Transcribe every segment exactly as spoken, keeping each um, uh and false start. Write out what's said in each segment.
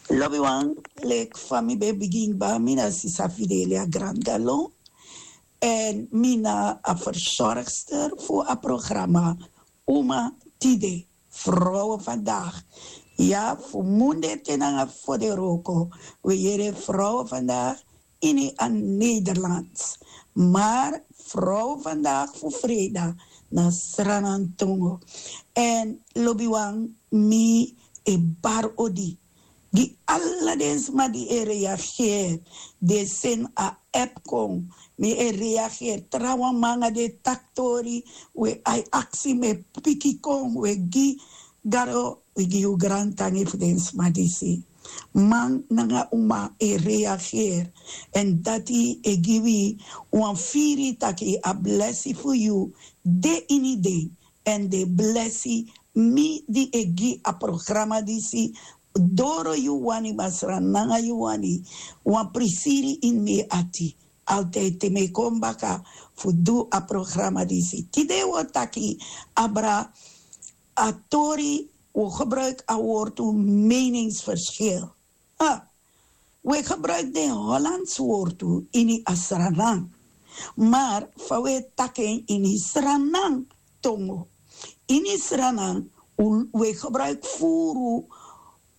Lobiwan, leki fa mi ben bigin kba, mi na sisa Fidelia Grandalon. En mi na a verzorgster fu a programa Uma Tide, Vrouwen Vandaag. Ya, fu munde te nanga foderoko, we yere Vrouwen Vandaag ini a Nederlands. Maar Vrouwen Vandaag fu freida na Sranantongo. En lobiwan, mi e bar odi gi ala den sma di e reageer, den seni a app kon. Mi e reageer, trawan manga den taktori, we ai aksi, mi e piki kon, we gi Gado, we gi yu grantangi fu den sma disi. Man nanga uma e reageer, en dati e gi wi wan firi taki a blesi fu yu de ini den, en den blesi mi di e gi a programa disi, doro yu wani, Masra, nanga yu wani, wan prisiri ini mi ati. Altijd te mi e kon baka fu du a programa disi. Tide wi o taki abra a tori, wi o gebruik a wortu meningsverschil. Ah, we gebruik den Hollands wortu ini a Sranan. Maar fa we taki en ini Sranan tongo. Ini Sranan, u- we gebruik furu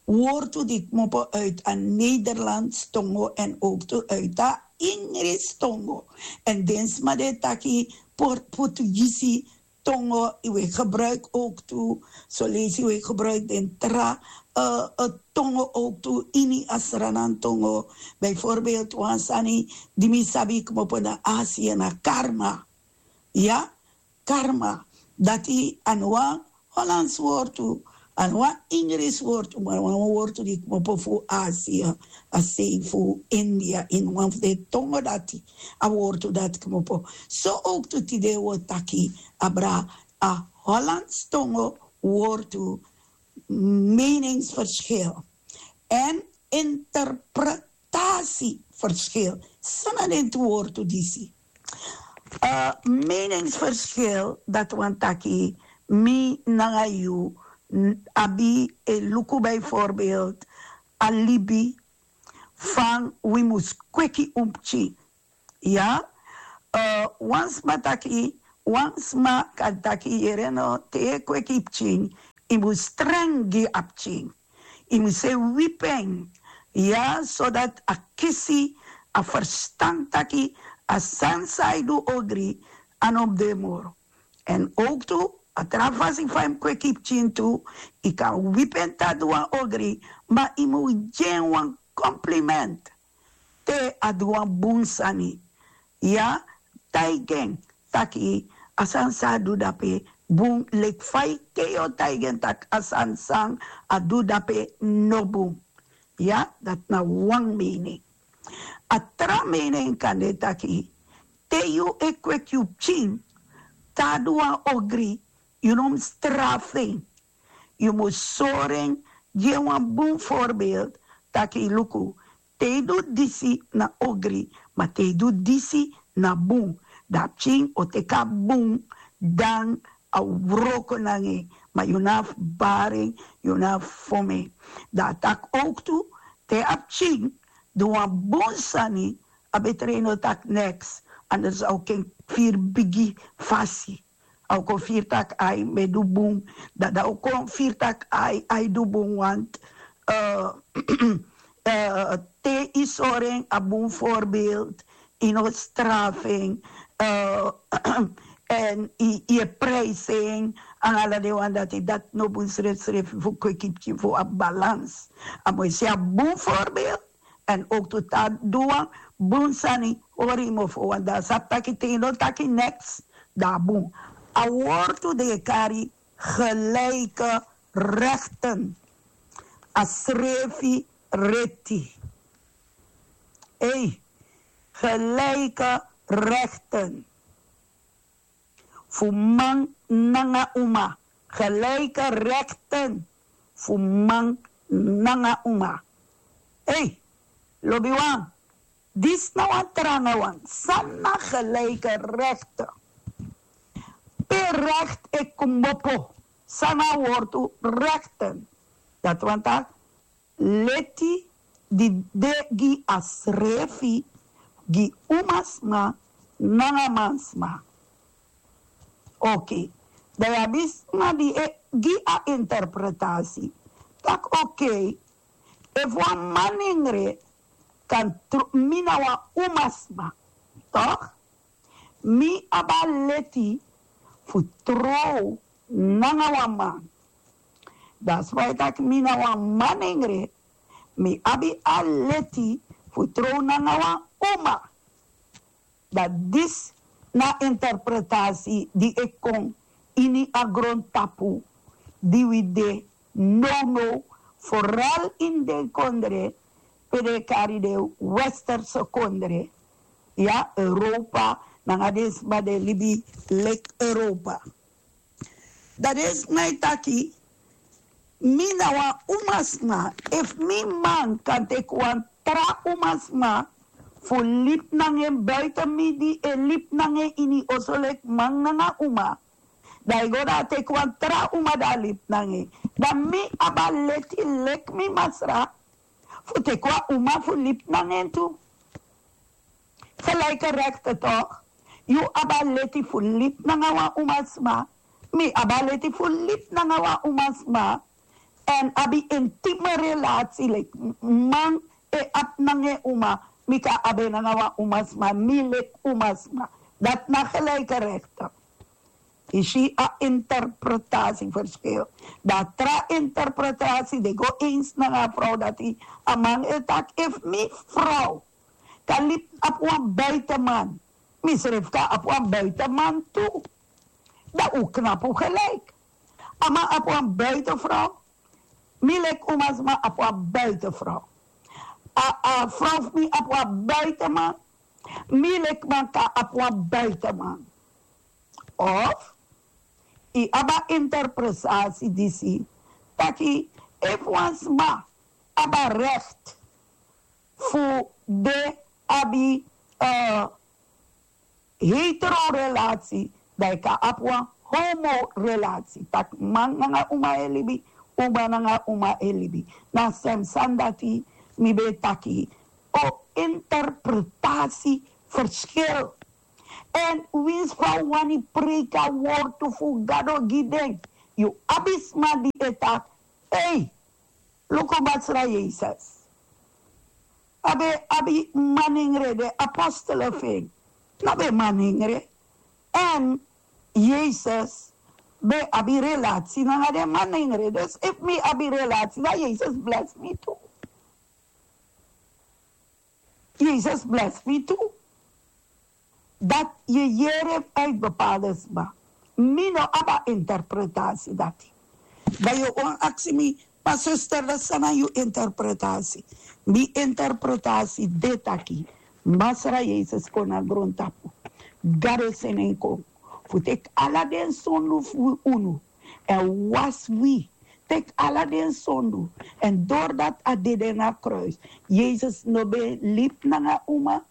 wortu di kmopo uit a Nederlands tongo en ook tu uit a Ingris tongo. En den sma den taki Port- Portugisi tongo, we gebruik ook tu, so leisi we gebruik den tra eh, eh, tongo ook tu ini a Sranan tongo. Bijvoorbeeld wan sani di mi sabi kmopo na Asia na karma. Ya, karma. Dati a no wan Hollands wortu, a no wan Ingris wortu, maar wan wortu di kmopo fu Asia, a sei fu India, in wan fu den tongo dati, a wortu dati kmopo. So ook tu tide wi o taki abra a Hollands tongo wortu meningsverschil en interpretatieverschil. San na den tu wortu disi? Eh, meningsverschil, dati wani taki mi nanga yu n- abi e luku bijvoorbeeld a libi fan wi mus kweki un pikin. Ya, eh, wan sma taki, wan sma kan taki, yere no, te yu e kweki pikin, yu mus strengi a pikin. Yu mus e wipi en. Ya, zodat a kisi a ferstan taki a sani san a e du ogri, a no mus de moro. En ook tu, a tra fasi fa yu mus kweki pikin tu, yu kan wipi en te a du wan ogri, ma yu mus gi en wan compliment te a du wan bun sani. Ya, taigi en taki a sani san a du dape bun, leki fa yu te yu o taigi en taki a sani san a du dape no bun. Ya, dati na wan mening. A tra mening kan de taki te yu e kweki yu pikin, te a du wan ogri, yu no mus strafu en. Yu mus sori en, gi en wan bun voorbeeld, taki luku, te yu du disi na ogri, ma te yu du disi na bun. Dan a pikin o teki a bun, dan a wroko nanga en, ma yu no abi fu bari en, yu no abi fu fon en. Dan a taki ook tu, te a pikin du wan bun sani, a betri no taki neks, anders a o ken firi bigi fasi. A o kon firi taki ai, mi e du bun. Dan a o kon firi taki ai, ai du bun, want eh, eh, te yu sori en a bun voorbeeld, yu no strafu en, eh, en yu, yu e prijsi en, en ala den wan dati, dati no bun srefsrefi fu kweki pikin, fu a balans. A mus e si a bun voorbeeld, en ook tu te a du wan bun sani, hori yu mofo, want dan a sabi taki te yu no taki neks, dan a bun. A wortu den e kari gelijke rechten. A srefi reti. Ei, gelijke rechten fu man nanga uma. Gelijke rechten fu man nanga uma. Ei, lobiwan, disi na wan tranga wan. San na gelijke rechten? Pe recht e kmopo? San na a wortu rechten? Dati wani taki leti di de gi a srefi, gi umasma nanga mansma. Oke. Dan yu abi sma di e gi a interpretasi tak' oke, efu wan manengre kan tru mi na wan umasma, tok', mi abi a leti fu trow nanga wan man. Dan a sma e taki mi na wan manengre, mi abi a leti fu trow nanga wan uma. Dan disi na a interpretasi di e kon ini a grontapu di wi de nownow, foral ini den kondre pe den e kari den westerse kondre, ya, Europa, nanga den sma di e libi leki Europa. Dan den sma e taki mi na wan umasma, efu mi man kan teki wan tra umasma fu libi nanga en buiten mi di e libi nanga en ini oso leki man nanga uma, dan a e go dan a teki wan tra uma dan a libi nanga en. Dan mi abi a leti leki mi masra fu teki wan uma fu libi nanga en tu. Gelijke rechten toch? Yu abi a leti fu libi nanga wan umasma, mi abi a leti fu libi nanga wan umasma, èn abi intime relasi leki man e abi nanga en uma, mi kan abi en nanga wan umasma, mi leki umasma. Dati na gelijke rechten. Yu si a interpretasi verschil. Dan a tra interpretasi de go eens nanga a vrouw dati, a man e taki efu mi vrouw kan libi abi wan buitenman, misrefi kan abi wan buitenman tu. Dan un knapu gelijk. A man abi wan buitenvrouw, mi leki umasma abi wan buitenvrouw. A a vrouw fu mi abi wan buitenman, mi leki man kan abi wan buitenman. Of yu abi a interpretatie disi taki efu wan sma abi a recht fu de abi heterorelatie, dan yu kan abi wan homorelatie, taki man nanga uma e libi, uma nanga uma e libi. Na sem sani dati mi ben e taki. O interpretatie verschil. Èn winsi fa un wani preiki a wortu fu Gado gi den, yu abi sma di e taki, ei, luku Masra Yesus. A ben abi manengre, den apostelen fu en no ben manengre. Èn Yesus ben abi relatie nanga den manengre. Dus efu mi abi relatie dan Yesus blesi mi tu. Yesus blesi mi tu. Dati yu e yere fu uit bepaalde sma. Mi no abi a interpretatie dati. Dan yu o wani aksi mi, ma zuster, dati san na yu interpretatie? Mi interpretatie de taki Masra Yesus kon na grontapu. Gado seni en kon fu teki ala den sondu fu unu èn wasi wi. Teki ala den sondu. Èn dori dati a dede na kruis. Yesus no ben libi nanga uma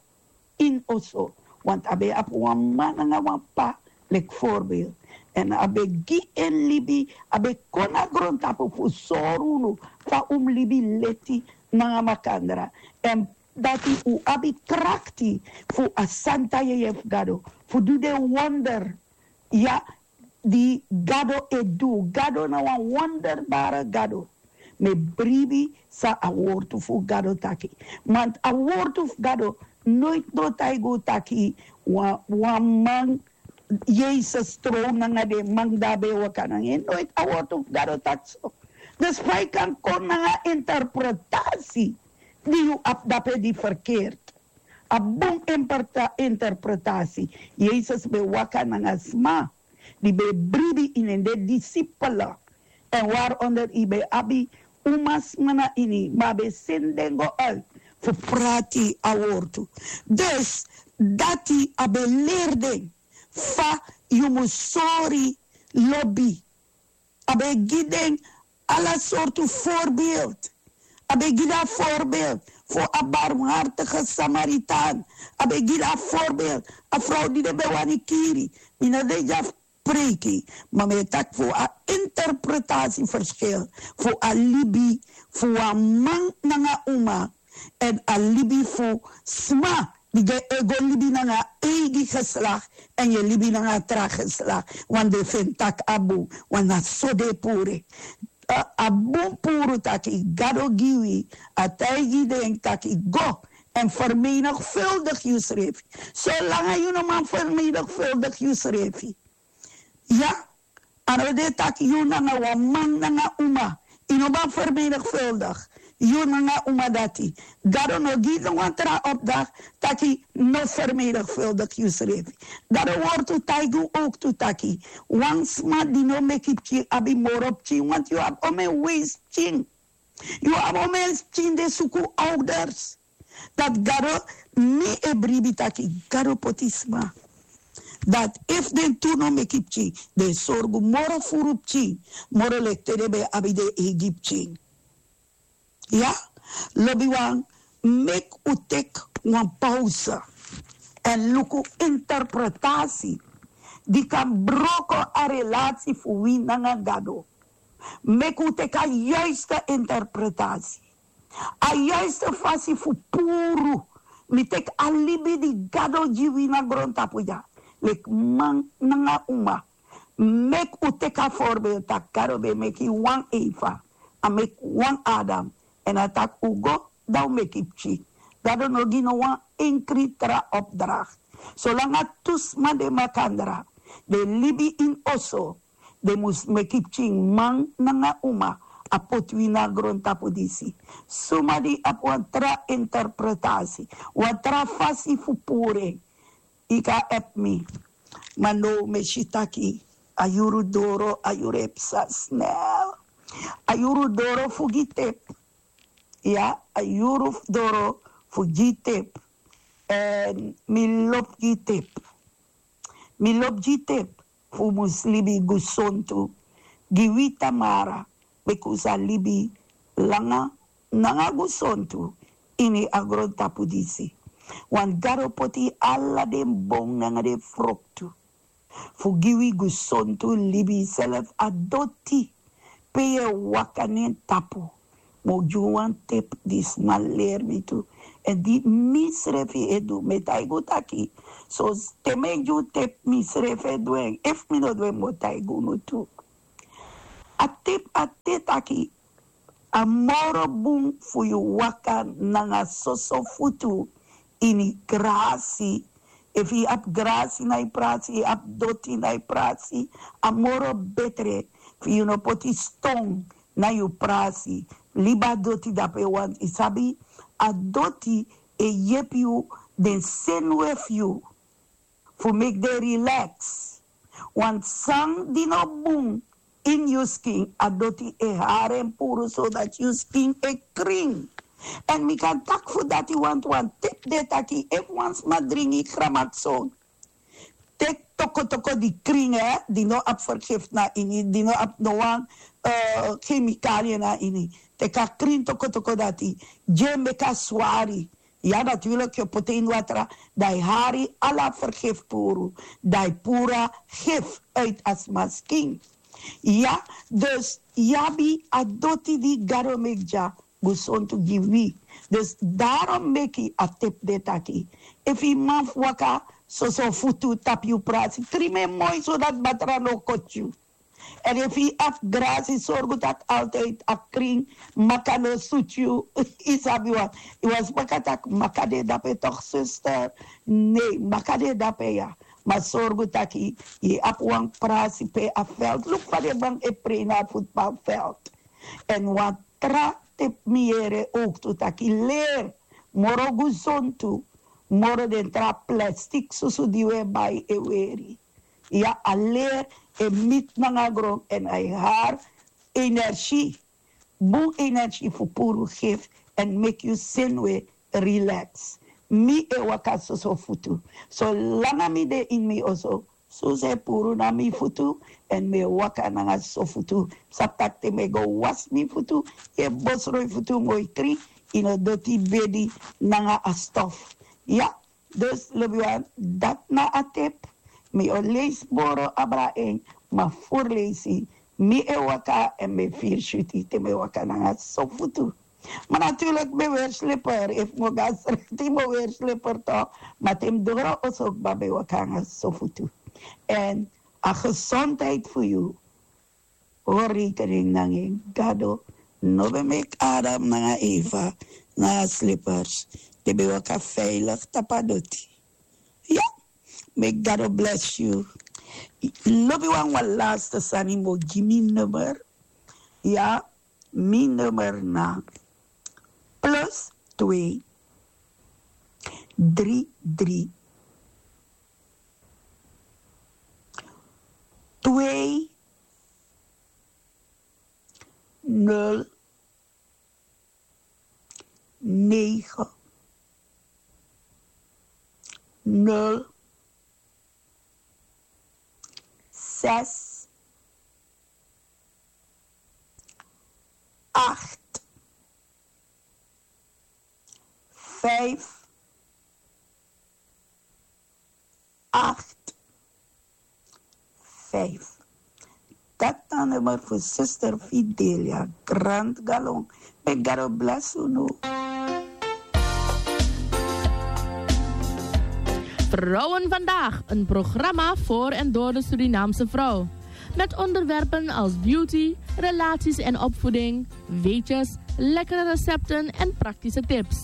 ini oso, want a ben abi wan mama nanga wan p'pa leki voorbeeld. Èn a ben gi en libi, a ben kon na grontapu fu sori unu fa un mus libi leti nanga makandra. Èn dati un abi krakti fu a santa yeye fu Gado fu du den wonder. Ya, di Gado e du. Gado na wan wonderbare Gado. Mi e bribi san a wortu fu Gado taki. Want a wortu fu Gado noiti no taigi un taki wan man Yesus trow nanga den man di a ben e waka nanga en. Noiti a wortu fu Gado taki so. Dus fa yu kan kon nanga interpretatie di yu abi dape di verkeerd. A bun interpretatie. Yesus ben waka nanga sma di ben e bribi ini en, den disipel. Èn waaronder yu ben abi umasma na ini, ma a ben seni den go uit fu prati a wortu. Dus dati a ben leri den fa yu mus sori lobi. A ben gi den ala sortu voorbeeld. A ben gi den a voorbeeld fu a barmhartige Samaritan. A ben gi den a voorbeeld a vrouw di den ben wani kiri. Mi no de dya fu preiki, ma mi e taki fu a interpretatie verschil fu a libi fu wan man nanga uma, èn a libi fu sma di e go libi nanga eigi geslak, èn yu e libi nanga tra geslak. Wan den feni tak' a bun, wan na so den e puru en. A bun puru taki gado gi wi, a taigi den taki go, èn fermenigvuldig yusrefi. Solanga yu no man fermenigvuldig yusrefi, ya, a no de taki yu nanga wan man nanga uma, yu no man fermenigvuldig yu nanga uma dati. Gado no gi no wan tra opdracht taki no fermenigvuldig yusrefi. Gado wortu taigi unu ook tu taki wan sma di no meki pikin abi moro pikin, want yu abi omen weisi pikin. Yu abi omen pikin di e suku ouders. Dati gado, mi e bribi taki gado poti sma dati efu den tu no meki pikin, den e sorgu moro furu pikin, moro leki te den ben abi den eigi pikin. Ya, lobiwan, meki un teki wan pause èn luku interpretasi di kan broko a relasi fu wi nanga gado. Meki un teki a yuiste interpretasi, a yuiste fasi fu puru. Mi teki a libi di gado gi wi na grontapu dya, leki man nanga uma. Meki un teki a voorbeeld tak' gado ben meki wan eva, a meki wan adam, èn a taki un go, dan un meki pikin. Gado no gi no wan enkri tra opdracht. Solanga tu sma de makandra, den libi ini oso, den mus meki pikin, man nanga uma. A poti wi na grontapu disi. Suma di abi wan tra interpretasi, wan tra fasi fu puru en, yu kan abi mi. Ma now mi e si taki a yuru doro, a yuru e psa snel. A yuru doro fu gi tep. Ya, a yuru doro fu gi tep. Èn mi lobi gi tep. Mi lobi gi tep fu mus libi gesontu. Gi wi tamara, meki un sa libi langa nanga gesontu ini a grontapu disi. Want gado poti ala den bon nanga den froktu fu gi wi gesontu libi. Srefi a doti pe yu e waka na en tapu, mi o gi wan tep di sma leri mi tu, èn di misrefi e du. Mi e taigi un taki, so te mi e gi un tep, misrefi e du en. Efu mi no du en, mi o taigi unu tu. A tep a de taki a moro bun fu yu waka nanga soso futu ini grasi. Efu yu abi grasi na yu prasi, yu abi doti na yu prasi, a moro betre fu yu no poti ston na yu prasi. Libi a doti dape, want yu sabi, a doti e yepi yu, den senuwe fu yu, fu meki den relax. Wan sani di no bun ini yu skin, a doti e hari en puru, so dati yu skin e krin. Èn mi kan taki fu dati, want wan tep de taki efu wan sma dringi gramakson, teki tokotoko di krin, eh, di no abi vergif na ini, di no abi no wan, eh, kemikalie na ini. Teki a krin tokotoko dati, gi en meki a swari. Ya, dati wil taki yu poti en ini watra, dan yu hari ala vergif puru, dan yu puru a gif uit a sma skin. Ya, dus yu abi a doti di Gado meki dya gesontu gi wi. Dus daarom meki a tep de taki, efu yu man fu waka soso futu tapu yu prasi, krin en moi, so dati batra no koti yu. Èn efu yu abi grasi, sorgu taki altijd a krin, maka no sutu yu. Yu sabi wan, yu wan sma kan taki maka de dape toch, zuster? Nee, maka de dape ya. Ma sorgu taki yu abi wan prasi pe a veld. Luku fa den man e prei na a voetbalveld. Èn wan tra tep mi yere ook tu taki leri moro gesontu, moro den tra plastic susu di wi e bai e weri. Ya, a leri e miti nanga gron èn a e hari energie, bun energie fu puru gif èn meki yu senuwe relax. Mi e waka soso futu. Solanga mi de ini mi oso, soso e puru na mi futu, èn mi e waka nanga soso futu. Sabi taki te mi e go wasi mi futu, yu e bosroi futu moi krin, yu no doti bedi nanga a stof. Ya, dus lobiwan, dati na a tep. Mi o leisi boro abra en, ma furu leisi Mi e waka èn mi e firi switi te mi e waka nanga sofutu. Ma naturlik mi e weri slipper, efu mi o go na strati mi o weri slipper tok. Ma te mi doro oso kba mi e waka nanga sofutu. Èn a gesondheid fu yu hori rekening nanga en. Gado no ben meki Adam nanga Eva nanga slippers. Den ben waka veilig tapu a doti. Ya. May God bless you. Lobi wan wan laatste sani mo gi mi nummer. Ya, mi nummer na plus twee drie drie twee nul negen nul zes acht vijf acht vijf. Dat dan nummer voor zuster Fidelia Grant Galon. May God bless unu. Vrouwen vandaag, een programma voor en door de Surinaamse vrouw. Met onderwerpen als beauty, relaties en opvoeding, weetjes, lekkere recepten en praktische tips.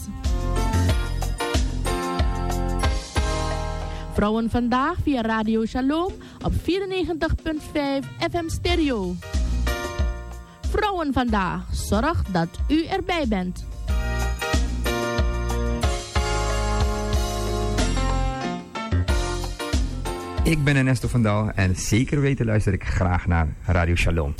Vrouwen vandaag via Radio Shalom op vierennegentig punt vijf F M stereo. Vrouwen vandaag, zorg dat u erbij bent. Ik ben Ernesto van Dal en zeker weten luister ik graag naar Radio Shalom.